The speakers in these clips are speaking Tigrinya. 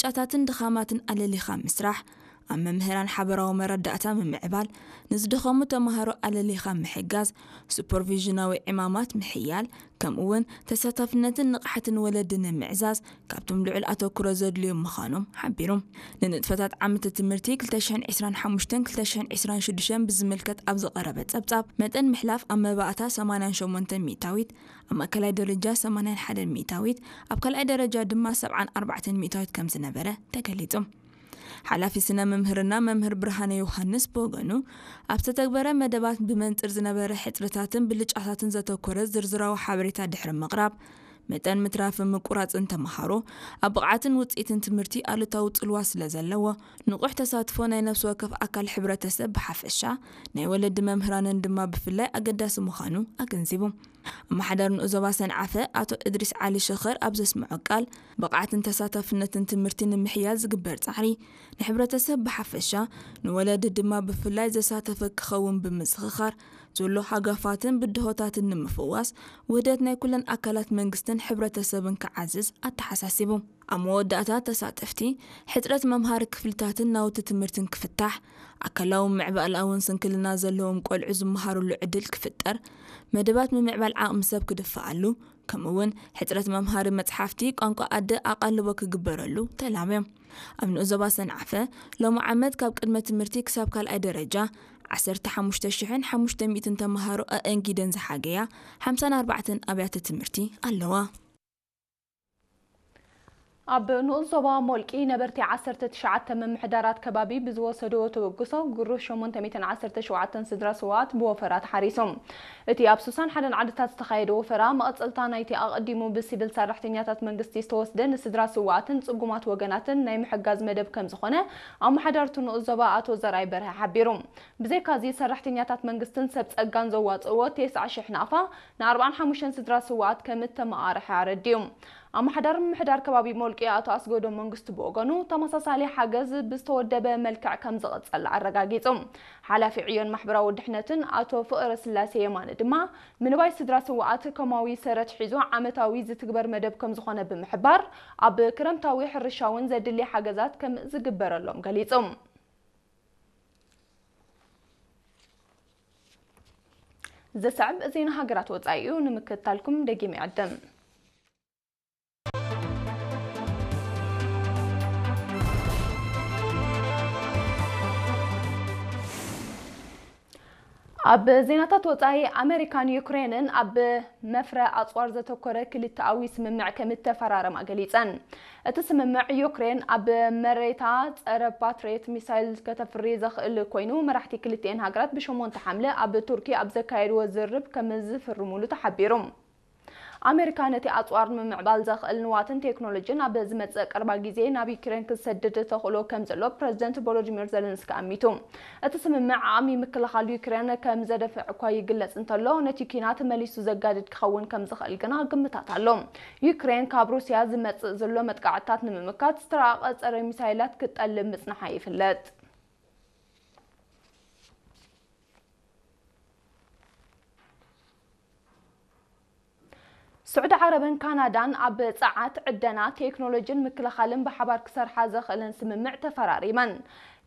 ብልጫታትን ድኻማትን ኣለሊኻ ምስራሕ፣ ኣብ መምህራን ሓበራዊ መረዳእታ ምምዕባል፣ ንዝደኸሙ ተምሃሮ ኣለሊኻ ምሕጋዝ፣ ሱፐርቪዥናዊ ዕማማት ምሕያል፣ ከምኡ እውን ተሳታፍነትን ንቕሓትን ወለዲ ንምዕዛዝ ካብቶም ልዑል ኣተኩሮ ዘድልዮም ምዃኖም ሓቢሩ። ንንጥፈታት ዓመተ ትምህርቲ ክልተ ሽሕን ዕስራን ሓሙሽተን ክልተ ሽሕን ዕስራን ሽዱሽተን ብዝምልከት ኣብ ዝቐረበ ጸብጻብ፣ መጠን ምሕላፍ ኣብ መባእታ ሰማንያን ሸሞንተን ሚእታዊት፣ ኣብ ማእከላይ ደረጃ ሰማንያን ሓደን ሚእታዊት፣ ኣብ ካልኣይ ደረጃ ድማ ሰብዓን ኣርባዕተን ሚእታዊት ከም ዝነበረ ተገሊጹ። ሓላፊ ስነ መምህርና መምህር ብርሃነ ዮሃንስ ብወገኑ፣ ኣብ ዝተተግበረ መደባት ብመንጽር ዝነበረ ሕጽረታትን ብልጫታትን ዘተኮረ ዝርዝራዊ ሓበሬታ ድሕሪ ምቕራብ፣ መጠን ምትራፍን ምቁራጽን ተምሃሮ ኣብ ብቕዓትን ውጽኢትን ትምህርቲ ኣሉታዊ ጽልዋ ስለ ዘለዎ፣ ንቑሕ ተሳትፎ ናይ ነፍሲ ወከፍ ኣካል ሕብረተሰብ ብሓፈሻ፣ ናይ ወለዲ መምህራንን ድማ ብፍላይ ኣገዳሲ ምዃኑ ኣገንዚቡ። ኣመሓዳሪ ንኡስ ዞባ ሰንዓፈ ኣቶ እድሪስ ዓሊ ሸኸር ኣብ ዘስምዖ ቃል፣ ብቕዓትን ተሳታፍነትን ትምህርቲ ንምሕያል ዝግበር ጻዕሪ፣ ንሕብረተሰብ ብሓፈሻ፣ ንወለዲ ድማ ብፍላይ ዘሳተፈ ክኸውን ብምዝኽኻር፣ ዘሎ ሃጋፋትን ብድሆታትን ንምፍዋስ፣ ውህደት ናይ ኩለን ኣካላት መንግስትን ሕብረተሰብን ክዓዝዝ ኣተሓሳሲቡ። ኣብ መወዳእታ ተሳተፍቲ፣ ሕጽረት መምሃሪ ክፍልታትን ናውቲ ትምህርትን ክፍታሕ፣ ኣካላውን ምዕባለኣውን ስንክልና ዘለዎም ቆልዑ ዝመሃሩሉ ዕድል ክፍጠር፣ መደባት ምምዕባል ዓቕሚ ሰብ ክድፍኣሉ፣ ከምኡ እውን ሕጽረት መምሃሪ መጽሓፍቲ ቋንቋ ኣደ ኣቓልቦ ክግበረሉ ተላብዮም። ኣብ ንኡስ ዞባ ሰንዓፈ፣ ሎሚ ዓመት ካብ ቅድመ ትምህርቲ ክሳብ ካልኣይ ደረጃ ዓሰርተ ሓሙሽተ ሽሕን ሓሙሽተ ሚእትን ተምሃሮ ኣእንጊደን ዝሓገያ ሓምሳን ኣርባዕተን ኣብያተ ትምህርቲ ኣለዋ። ኣብ ንኡስ ዞባ ሞልቂ ነበርቲ ዓሰርተ ትሽዓተ ምምሕዳራት ከባቢ ብዝወሰድዎ ተበግሶ፣ ግሩህ ሸሞንተ ሚእትን ዓሰርተ ሸውዓተን ስድራ ስውኣት ብወፈራ ተሓሪሶም። እቲ ኣብ ስሳን ሓደን ዓድታት ዝተኻየደ ወፈራ፣ መቐጸልታ ናይቲ ኣቐዲሙ ብሲቪል ሰራሕተኛታት መንግስቲ ዝተወስደ ንስድራ ስውኣትን ጽጉማት ወገናትን ናይ ምሕጋዝ መደብ ከም ዝኾነ፣ ኣመሓዳሪ እቲ ንኡስ ዞባ ኣቶ ዘርኣይ በርሀ ሓቢሩ። ብዘይካዚ፣ ሰራሕተኛታት መንግስትን ሰብ ጸጋን ዘዋጽእዎ ተስዓ ሽሕ ናቕፋ፣ ንኣርባዓን ሓሙሽተን ስድራ ስውኣት ከም እተመቓርሐ ኣረዲኡ። ኣመሓዳሪ ምምሕዳር ከባቢ ሞልቂ ኣቶ ኣስገዶም መንግስቱ ብወገኑ፣ ተመሳሳሊ ሓገዝ ብዝተወደበ መልክዕ ከም ዝቕጽል ኣረጋጊጹ። ሓላፊ ዕዮን ማሕበራዊ ድሕነትን ኣቶ ፍቕረ ስላሴ የማነ ድማ፣ ምንባይ ስድራ ስውኣት ከማዊ ሰረት ሒዙ ዓመታዊ ዝትግበር መደብ ከም ዝኾነ ብምሕባር፣ ኣብ ክረምታዊ ሕርሻ እውን ዘድሊ ሓገዛት ከም ዝግበረሎም ገሊጹ። ዘሰዕብ ዜና ሃገራት ወጻኢ እዩ፣ ንምክትታልኩም ደጊመ ይዕድም። ኣብ ዜናታት ወጻኢ፣ ኣመሪካን ዩክሬንን ኣብ መፍረ ኣጽዋር ዘተኮረ ክልተኣዊ ስምምዕ ከም እተፈራረማ ገሊጸን። እቲ ስምምዕ፣ ዩክሬን ኣብ መሬታ ጸረ ፓትሪየት ሚሳይል ከተፍሪ ዘኽእል ኮይኑ፣ መራሕቲ ክልቲኤን ሃገራት ብሸሞንተ ሓምለ ኣብ ቱርኪ ኣብ ዘካየድዎ ዝርርብ ከም ዝፍርሙሉ ተሓቢሩ። ኣሜሪካ ነቲ ኣጽዋር ንምምዕባል ዘኽእል ንዋትን ቴክኖሎጂን ኣብ ዝመጽእ ቀረባ ግዜ ናብ ዩክሬን ክትሰድድ ተኽእሎ ከም ዘሎ ፕረዚደንት ቮሎዲሚር ዘለንስኪ ኣሚቱ። እቲ ስምምዕ ዓቕሚ ምክልኻል ዩክሬን ከም ዘደፍዕ እኳ ይግለጽ እንተሎ፣ ነቲ ኲናት መሊሱ ዘጋድድ ክኸውን ከም ዝኽእል ግና ግምታት ኣሎ። ዩክሬን ካብ ሩስያ ዝመጽእ ዘሎ መጥቃዕትታት ንምምካት ዝተራቐ ጸረ ሚሳይላት ክትጠልብ ምጽንሓ ይፍለጥ። ስዑዲ ዓረብን ካናዳን ኣብ ጸዓት፣ ዕደና፣ ቴክኖሎጂን ምክልኻልን ብሓባር ክሰርሓ ዘኽእለን ስምምዕ ተፈራሪመን።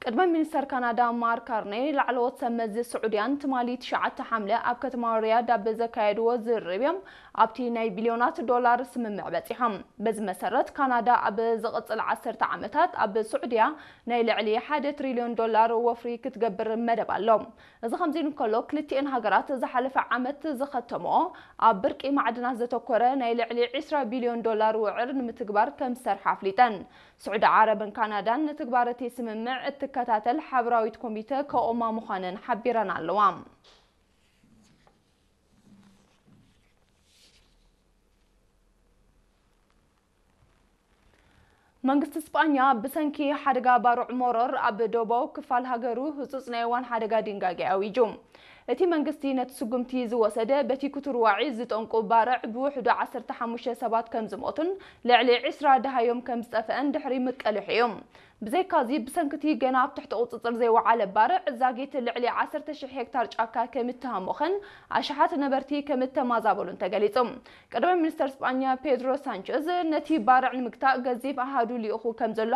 ቅድመ ሚኒስተር ካናዳ ማርክ ካርኔይ፣ ላዕለዎት ሰብ መዚ ስዑድያን ትማሊ ትሽዓተ ሓምለ ኣብ ከተማ ሪያድ ኣብ ዘካየድዎ ዝርርብ እዮም ኣብቲ ናይ ቢልዮናት ዶላር ስምምዕ በጺሖም። በዚ መሰረት፣ ካናዳ ኣብ ዝቕጽል ዓሰርተ ዓመታት ኣብ ስዑድያ ናይ ልዕሊ ሓደ ትሪልዮን ዶላር ወፍሪ ክትገብር መደብ ኣሎ። እዚ ከምዚ ኢሉ እንከሎ፣ ክልቲኤን ሃገራት ዝሓለፈ ዓመት ዝኸተምኦ ኣብ ብርቂ ማዕድናት ዘተኮረ ናይ ልዕሊ ዕስራ ቢልዮን ዶላር ውዕል ንምትግባር ከም ዝሰርሓ ኣፍሊጠን። ስዑዲ ዓረብን ካናዳን ንትግባር እቲ ስምምዕ እትከታተል ሓበራዊት ኮሚተ ከቑማ ምዃነን ሓቢረን ኣለዋ። መንግስቲ ስጳኛ ብሰንኪ ሓደጋ ባርዕ ሞሮር ኣብ ደቡባዊ ክፋል ሃገሩ ህጹጽ ናይ እዋን ሓደጋ ድንጋጌ ኣዊጁ። እቲ መንግስቲ ነቲ ስጉምቲ ዝወሰደ፣ በቲ ክትርዋዒ ዝጠንቁ ባርዕ ብውሕዱ ዓሰርተ ሓሙሽተ ሰባት ከም ዝሞቱን ልዕሊ ዕስራ ደሃዮም ከም ዝጠፍአን ድሕሪ ምቅልሕ እዩ። ብዘይካዚ፣ ብሰንኪ እቲ ገና ኣብ ትሕቲ ቁጽጽር ዘይወዓለ ባርዕ፣ ዛጊት ልዕሊ ዓሰርተ ሽሕ ሄክታር ጫካ ከም እተሃሞኸን ኣሽሓት ነበርቲ ከም እተማዛበሉን ተገሊጹ። ቀዳማይ ሚኒስተር ስጳኛ ፔድሮ ሳንቸዝ፣ ነቲ ባርዕ ንምግታእ ገዚፍ ኣሃዱ ልኢኹ ከም ዘሎ